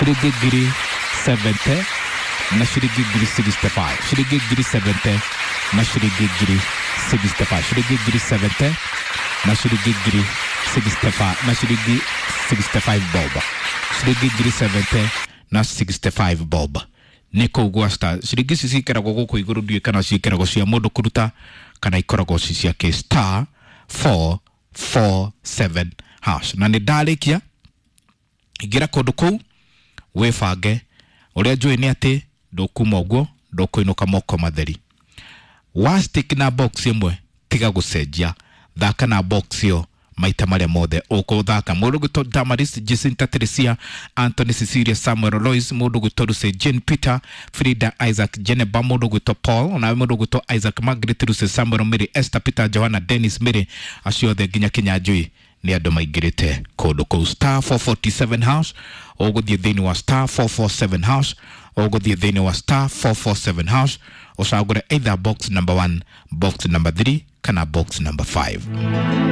Ciringi 70,000 na ciringi 65,000, ciringi 70,000 na ciringi 65,000, ciringi 70,000 na ciringi 65,000 na ciringi 65 bob, ciringi 70,000 na 65 bob nä kå u gwa star. Ciringi ici cikeragwo gå kå igå rå, ndiå kana ciĩkĩragwo cia mũndũ kũruta kana ikoragwo ci ciake. Star 447 hash. Na nä ndarĩkia, ingĩra kũndũ kũu wĩbange. Ũrĩa njũĩ nĩ atĩ ndũkuma ũguo, ndũkũinũka moko matheri. Wa stick na box ĩmwe, tiga gũcenjia, thaka na box ĩyo maita marĩa mothe ũkũthaka. Mũndũ gwĩtwo Damaris, Jacinta, Teresia, Anthony, Cecilia, Samuel, Lois, mũndũ gwĩtwo Lucy Jane, Peter, Frida, Isaac, Jeneba, mũndũ gwĩtwo Paul, onawe mũndũ gwĩtwo Isaac, Margaret, Lucy, Samuel, Mary, Esther, Peter, Johanna, Dennis, Mary, acio othe nginya Kinyanjui nĩ andũ maingĩrĩte kũndũ kũu. Star 447 hash. Ũgũthiĩ thĩinĩ wa star 447 hash, ũgũthiĩ thĩinĩ wa star 447 hash, ũcagũre either box number 1, box number 3 kana box number 5.